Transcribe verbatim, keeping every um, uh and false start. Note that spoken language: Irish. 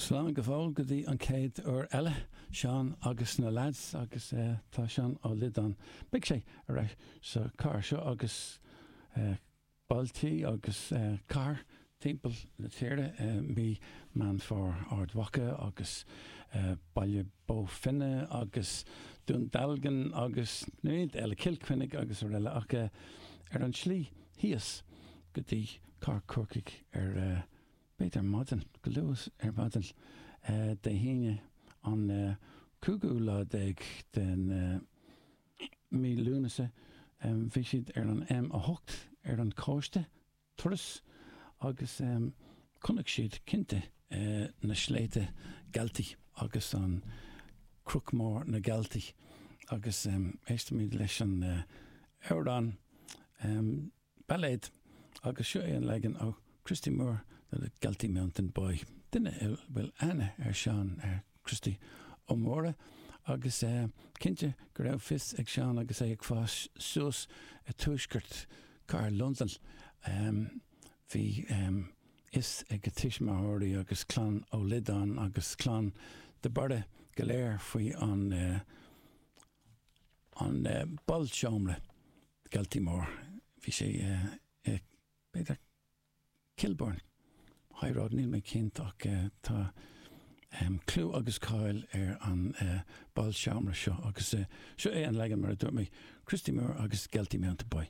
Slán go fóill go dtí an chéad uair eile Seán agus na lads agus uh, tá Seán Ó Loideáin. Beidh sé ar ais sa chathair seo agus uh, bailtí agus uh, car timpeall na tíre uh, mí Meán Fómhair Ard Mhacha agus uh, Baile Bó Finne agus Dún Dealgan agus ní eile Cill Chainnigh agus araile ach uh, ar an slí thíos go dtí Cathair Chorcaí ar uh, b'fhéidir maidin go luath ar maidin uh, Dé hAoine an uh, cúigiú lá déag den uh, mí Lúnasa um, bhí siad ar an M a hocht ar an cóiste turas agus um, chonaic siad cinnte uh, na sléibhte Galtee agus an Cnoc Mór na Galtee agus um, éistimid leis an uh, amhrán um, bailéad agus seo é an leagan ó Christy Moore the Galtee Mountain Boy. Duine bhfuil aithne ar Seán ar Christy Ó Mórdha agus uh, cinnte go raibh fios ag Seán agus é ag fás suas i tuaisceart Cathair Londain. Um, bhí um, fhios ag a tuismitheoirí agus clann Ó Loideáin agus clann de Barra go léir faoi an uh, an uh, bálseomra Galtee Mór. Bhí sé uh, uh, b'fhéidir Kilburn. High Road níl mé cinnte ach uh, tá um, clú agus cáil ar an uh, bálseomra seo agus uh, seo é an leagan mar a dúirt mé Christy Moore agus Galtee Mountain Boy.